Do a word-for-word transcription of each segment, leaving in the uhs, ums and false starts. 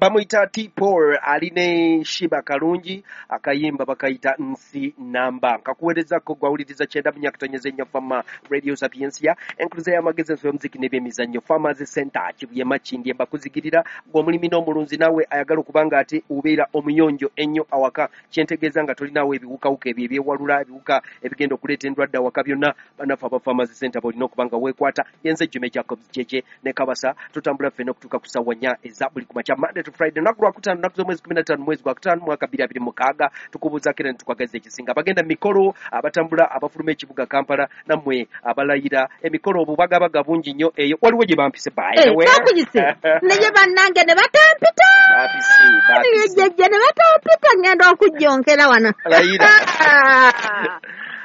Bamuyita T-Paul ali ne Shiba Kalungi, akayimba bakayita Nsi Namba. Nkakuweerezako gwawuliriza kyenda munyakutonyeza ennyo Fama Radio Sapientia, enkuluze y'amagezi enso y'omuziki n'ebyemizannyo, Farmers Center Kibuye Makindye mbakuzigirira gw'omulimi n'omulunzi naawe ayagala okuba nga ate obeera omuyonjo ennyo awaka. Kyentegeeza nga tolinawo ebiwukawuka ebyo ebyewalula, ebiwuka ebigenda okuleeta endwadde awaka byonna, bannaffe aba Farmers Center b'olina okuba nga weekwata. Yenze Jimmy Jacobs Jeje ne Kabasa, tutambula ffenna okutuuka ku ssaawa nnya eza buli ku makya Monday to Friday, lunaku lwakutaano, nnaku z'omwezi kumi na ttaano mwezi gwa kutaano mwaka bbiri abiri mukaaga. Tukubuuzaako era ne tukwagaliza ekisinga. Abagenda mu mikolo, abatambula, abafuluma ekibuga Kampala, nammwe abalayira emikolo, obubagabaga bungi nnyo eyo. Waliwo gye bampise by the way. Bakuyise naye bannange ne batampita, Bampise, bampise. Jjajja ne batampita, ngenda okujjonkera wano. Layira.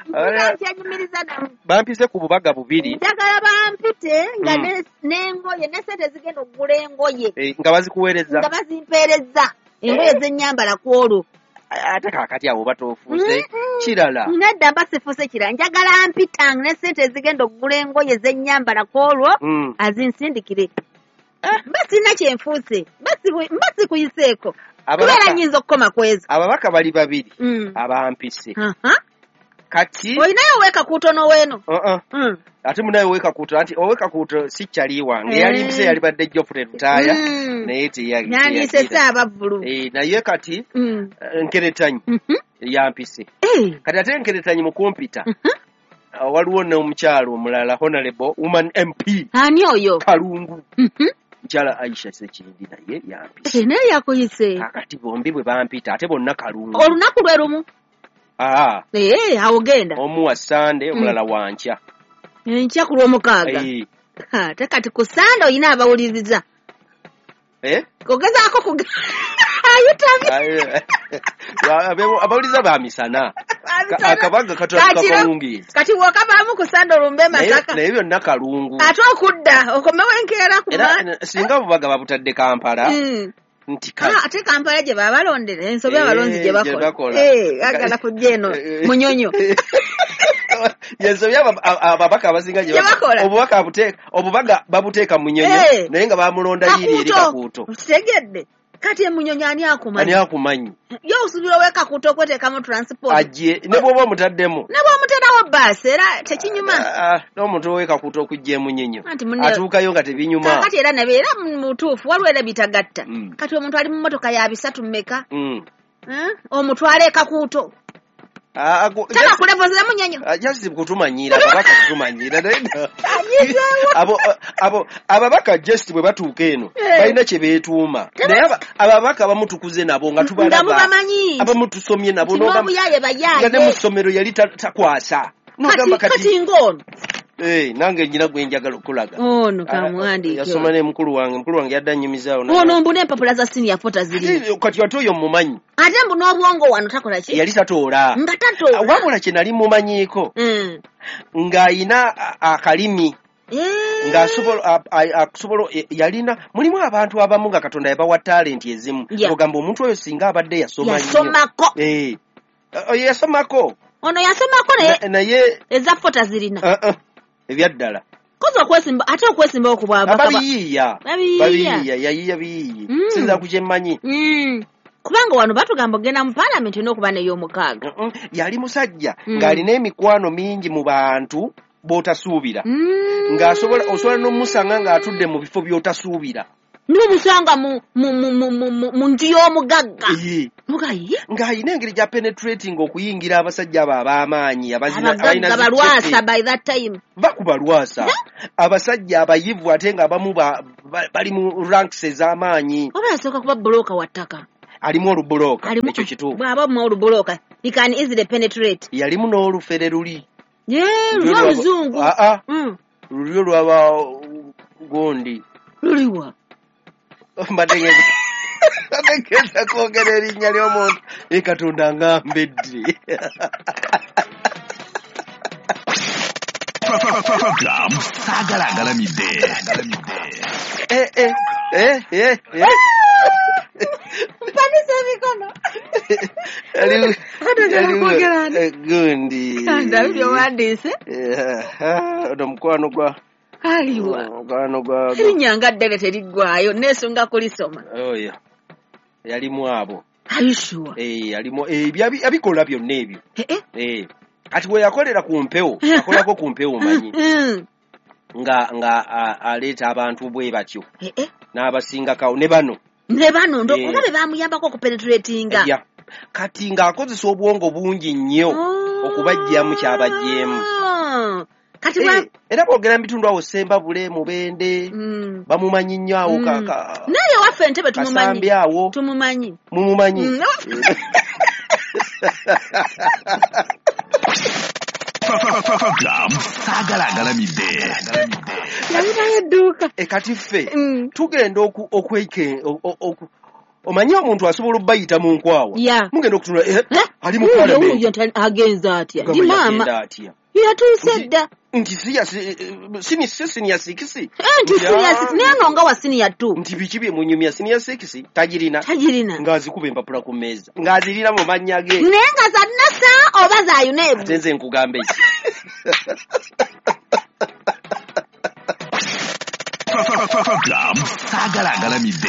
Mpulira nkyenyumiriza namu. Bampise ku bubaga bubiri. Njagala bampite nga Mm. ne- n'engoye ne sente zigenda okugula engoye Eh, nga bazikuweereza, nga bazimpeereza engoye zennyambala ku olwo. Ate kaakati awo batoofuuse Mm-mm. kirala. Nedda, mba sifuuse kirala. Njagala mpita ne sente ezigenda okugula engoye zennyambala ku olwo Mm. azinsindikire. Mba sirina kyenfuuse, mba sibu- mba sikuyiseeko, Ababaka- kubeera nnyinza okukoma ku ezo. Ababaka bali babiri Mm. abampise Aha. kati. Olinayo oweekakuutono weeno? Uh-uh. Mm. Ate munaye owekakuuto, anti owekakuuto si kyali wange. Eh. Yalimpise yalibadde Geoffrey Lutaaya, Mm. naye teya- Nyandiise teyagira. Ssaabavvulu. Eh, naye kati Mm. eh, Nkeretanyi Mhm. yampise. Eh. Kati ate Nkeretanyi mukumpita, Mhm. ah, waliwo n'omukyalo omulala, Honorable Woman M P Ani oyo? Kalungu, Mhm. mukyala Aisha Sekindi, naye yampise. Eh, naye yakuyise. Kakati bombi bwe bampita ate bonna Kalungu. Olunaku lwe lumu? Aa. Eh, awo genda. Omu wa Sande, omulala wa nkya. Enkya ku lwomukaaga. Eh, Ha, ate kati ku Sande olina abawuliriza. Eh? Ogezaako kuga ayitabye. Abe- abawuliza ba misana. Ka- akabaga katandika Kakiro- kawungeezi. Kati wokavaamu ku Sande olumbe e Naye Masaka, naye byonna Kalungu. Ate okudda okomewo enkeera ku Era ma- eh, singa obubaga babutadde Kampala Mm. nti kale. Ah, ate Kampala gye baba balondera, ensobi Eh, abalonzi gye gye bakola. bakola. Eh, agala kujja eno Eh, Munyonyo. Yensobi aba- aba- ababaka abasinga gye Gye bakola. Obubaka abuteeka, obubaga babuteeka Munyonyo, Eh. naye nga bamulonda yiri eri Kakuuto. Kitegedde, kati emunyonyo ani Ani akumanyi? Akumanyi. Ye osuubira owekakuuto okweteekamu transport? Ajje ne bw'oba omutaddemu. Ne bw'omuterawo baasi era tekinyuma. Ah, ah, n'omuntu owekakuuto okujja emunyonyo Anti munne- atuukayo nga tebinyuma. Kaakati era nabe era mutuufu, waliwo era bitagatta. Mm. Kati omuntu ali mu motoka ya bisatu mmeka, Mm. Eh? Omutwale ekakuuto, Ah, ah, gu- taba ku level za Munyonyo. Ah, just kutumanyiira, ababaka kutumanyiira. Naye no. Anyizeewo. Abo abo ababaka just bwe batuuka eno Eh. balina kye beetuuma, naye aba- ababaka abamu tukuze nabo nga Nga tubalaba, mubamanyi abamu tusomye nabo, nti n'ogamba- n'obuyaye nga ne mu bayaaye. ssomero yali ta- takwasa, n'ogamba kati kati kati ng'ono Eh, nange nyina gwe njagala okulaga. Ono Ah, kamuwandiike. Yasoma ne mukulu wange, mukulu wange yadde annyumizaawo. Ono mbu n'empapula za siniya fo tazirina. Ate kati ate oyo mumanyi. Ate mbu n'obwongo wano takola ki? Yali tatoola. Nga tatoola. Wabula kye nali mumanyiiko, Mm. ng'ayina a- akalimi, Eh. ng'asobola a- a- akusobola e- yalina mulimu abantu abamu nga Katonda yabawa talenti ezimu, Yeah. ogamba omuntu oyo singa abadde yasoma nnyo. Yasomako. Eh. Oyo yasomako. Ono yasomako naye Na- naye eza fo tazirina. uh, uh, ebyaddala. Kozi okwesimba, ate okwesimbawo ku bwabaka ba- Babiyiiya. Babiyiiya. Babiyiiya, yayiiya biyiiyi. Mm. Sinza ku kyemmanyi. Mm. Kubanga wano batugamba ogenda mu paalamenti olina okuba n'ey'omukaaga. Mm-mm. Yali musajja Mm. ng'alina emikwano mingi mu bantu b'otasuubira, Mm. ng'asobola osobola n'omusanga ng'atudde mu bifo by'otasuubira. N'omusanga mu mu mu mu mu mu- mu nju y'omugagga. Ee. Mugaye. Ng'alina engeri gya penetrating okuyingira abasajja abo ab'amaanyi abazina abalina Abagagga zi balwasa chepe. by that time. Va ku balwasa, abasajja abayivu, ate ng'abamu ba- ba- bali mu ranks ez'amaanyi. Oba yasooka kuba bulooka wa ttaka. Alimu olubulooka. Alimu- Ekyo kituufu. Bw'aba mu olubulooka, he can easily penetrate. Yalimu n'olufere luli. Ye, Lulyo lwa lwaba- luzungu. Ah, ah. Mm. Lulyo lwaba gundi. Luliwa? Mbadde ngenda mbadde ngenda kwogera erinnya ly'omuntu, e Katonda ngambedde. Program Saagala Agalamidde. Eh, eh, eh, eh, eh. Mpanise emikono. Yalimu- Ate njagala yalimu, kwogera ani? eh, gundi. Ndabi byowandiise. Eh, ah, ono mukwano gwa Aliwa? Mukwano gwa Erinnya nga ddene teriggwayo, neesunga kulisoma. Oyo. Yalimu abo. Are you sure? Eh, yalimu eh, byabi- abikola byonna ebyo. Eh, eh. Eh, kati bwe yakolera ku mpewo, yakolako ku mpewo manyi Mm. nga nga a- aleeta abantu bwe batyo Eh, eh. n'abasingakawo ne bano. Ne bano ndo Eh. oba be bamuyambako okupenetratinga. Ya. Kati ng'akozesa obwongo bungi nnyo okubaggyamu ky'abaggyemu. Oh. Kati bwa Eh, era boogera mu bitundu awo Sembabule, Mubende, Mm. bamumanyi nnyo awo ka- Mm. ka- Naye waffe Entebbe tumumanyi. Kasambi awo Tumumanyi. mumumanyi. Mm. Club saagala agalamidde. Yalinayo edduuka. E kati ffe Mm. tugenda oku- okweke o- o- oku- omanyi omuntu asobola obbayita mu nkwawa. Ya. Mugenda okutunula eh, Eh? ali mu Wuuyo, parliament. wuuyo nti agenze atya? Gamba Ndi maama. yagenda atya? Yatuuse Nti- dda. Nti si ya- si- sini- si senior six. Eh, nti senior six. Naye no nga wa senior two. Nti biki bye munyumya senior six tagirina. Tagirina. Ng'azikuba empapula ku mmeeza. Ng'azirina mu mannya ge. Naye nga za NASA oba za UNEB? Ate nze nkugamba eki. Club saagala agalamidde.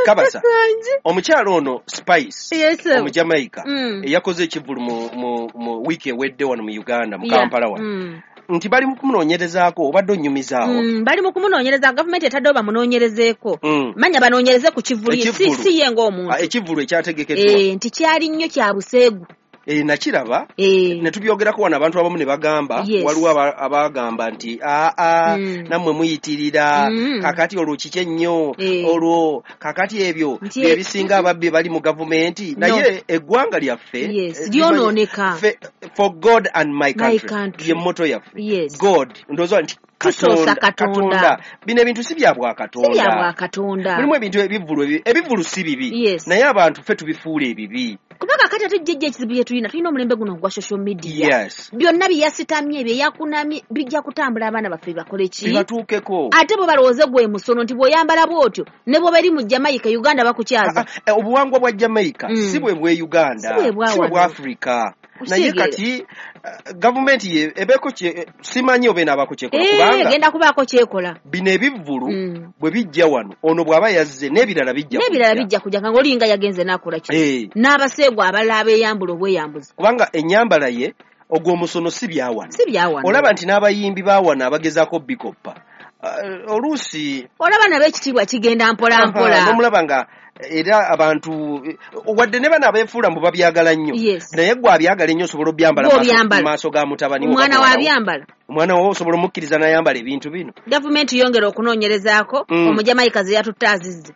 Kabasa. Sanji. Omukyala ono Spice Yes, sir. Omujamaica Mm. eyakoze ekivvulu mu, mu, mu wiiki ewedde wano mu Uganda mu Yeah. Kampala wano. Mm. Nti bali mu kumunoonyerezaako obadde onnyumizaawo. Mm, bali mu kumunoonyereza, gavumenti etaddewo bamunoonyerezeeko. Mm. Manya banoonyereze ku kivvulu ye, si Ekivvulu. si ye ng'omuntu. Ah, ekivvulu ekyategekeddwa. Eh, nti kyali nnyo kya buseegu. Eh, nakiraba Eh. ne tubyogerako wano abantu abamu ne bagamba Yes. waliwo aba- abagamba nti aa Mm. nammwe muyitirira Mm. kakati olwo kiki ennyo Eh. olwo kakati ebyo Nti- bye bisinga ababbi bali mu gavumenti. No. Naye eggwanga lyaffe Yes, eh, lyonooneka. ffe- for God and my My country, country. ye motto yaffe. Yes. God ndowooza nti Tusoosa Katonda. Bino ebintu si bya Si bya bwakatonda. bwakatonda. Mulimu ebintu ebivvulu ebi- ebivvulu si bibi. Yes. Naye abantu ffe tubifuula ebibi. Kubanga kati ate jjajja ekizibu bye tulina, tulina omulembe guno ogwa social media. Yes. Byonna bye yasitamye, bye yakunamye, bijja kutambula abaana baffe bakole ki? Bibatuukeko. Ate bwe balowooze gwe musono nti bw'oyambala bw'otyo ne bw'oba eri mu Jamaica, Uganda bakukyaza. Ah, ah, obuwangwa bwa Jamaica Mm. si bwe bwe Uganda, Si bwe bwa si bwe bwa wano. Africa. Naye Okitegeera. kati eh, gavumenti ye ebeeko kye eh, simanyi oba enaabako kyekola Eh, kubanga egenda kubaako kyekola. bino ebivvulu Mm. bwe bijja wano ono bw'aba yazze n'ebirala bijja N'ebirala kujja. bijja kujja nga ng'olinga yagenze n'akola ki? Eh, N'abaseegu abalala abeeyambula obweyambuzi. kubanga ennyambala ye ogw'omusono si bya wano. Si bya wano. Olaba nti n'abayimbi ba wano abagezaako bikoppa Eh, oluusi Olaba nabo ekitiibwa kigenda mpola Aha, mpola. n'omulaba nga era abantu eh, wadde ne bano abeefuula mbu babyagala nnyo. Yes. Naye gwe abyagala ennyo osobola obyambala Gwe maaso- obyambala. mu maaso ga mutabani wo Omwana oba muwala wo. wabyambala. Omwana wo osobola omukkiriza n'ayambala ebintu bino. Gavumenti yongera okunoonyerezaako Mm. Omujamaika ze yatutte azizze.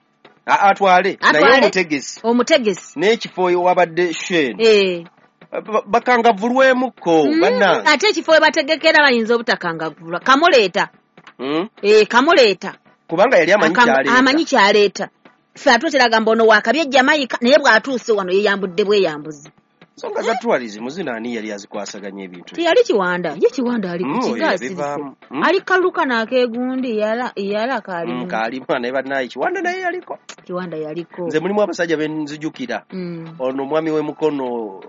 A- atwale naye Atwale. omutegesi Omutegesi. n'ekifo wabadde shen Eh. bakangavulwemukko Mm, bannange. ate ekifo we bategekera bayinza obutakangavulwa. Kamuleeta. Mm? Eh, kamuleeta. Kubanga yali amanyi Akam- kyaleeta. Amanyi kyaleeta. Ffe ate oteraga ono waakabye Jamaica naye bw'atuuse wano yeeyambudde bweyambuzi. Ensonga za tourism zino ani yali azikwasaganya ebintu? Teyali Kiwanda. Ye Kiwanda ali ku Mm, oyo kiga asirise. yabivaamu. Mm. Ali kaluka n'akeegundi yala yala kaalimu. Mm, kaalimu naye bannaye Kiwanda naye yaliko. Kiwanda yaliko. Nze mulimu abasajja be nzijukira. Mm. Ono omwami w'emukono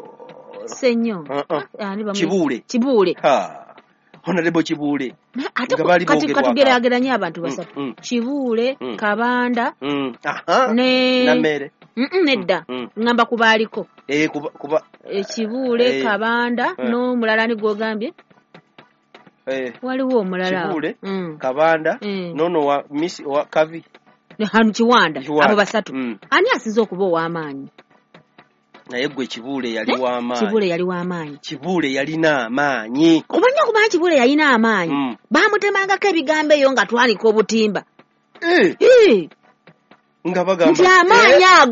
Ssenyo. Uh, uh. Ani bamu- Kibuule. Kibuule. Ha. Honorable Kibuule. Naye ate Nga ku- baali kati boogerwako. katugeraageranye abantu basatu. Mm, mm. Kibuule, Mm. Kabanda Mm. Aha. ne Nammere. Mm-mm, nedda. Mm. Ŋŋamba ku baaliko. Eh, kuba kuba E, Kibuule, Eh. Kabanda Eh. n'omulala ani gw'ogambye? eh, Waliwo omulala. Kibuule, Mm. Kabanda, Mm. nono wa Miss wa Kavi. Ne Hanu Kiwanda. Kiwanda. Abo basatu. Mm. Ani asinze okuba ow'amaanyi? Naye gwe Kibuule yali Eh? w'amaanyi. Kibuule yali w'amaanyi. Kibuule yalina amaanyi. Omanyi okumanya Kibuule yalina amaanyi. Mm. Baamutemangako ebigambo eyo nga twanika obutimba. Eh, Eh, nga bagamba nti amaanyi eh, ago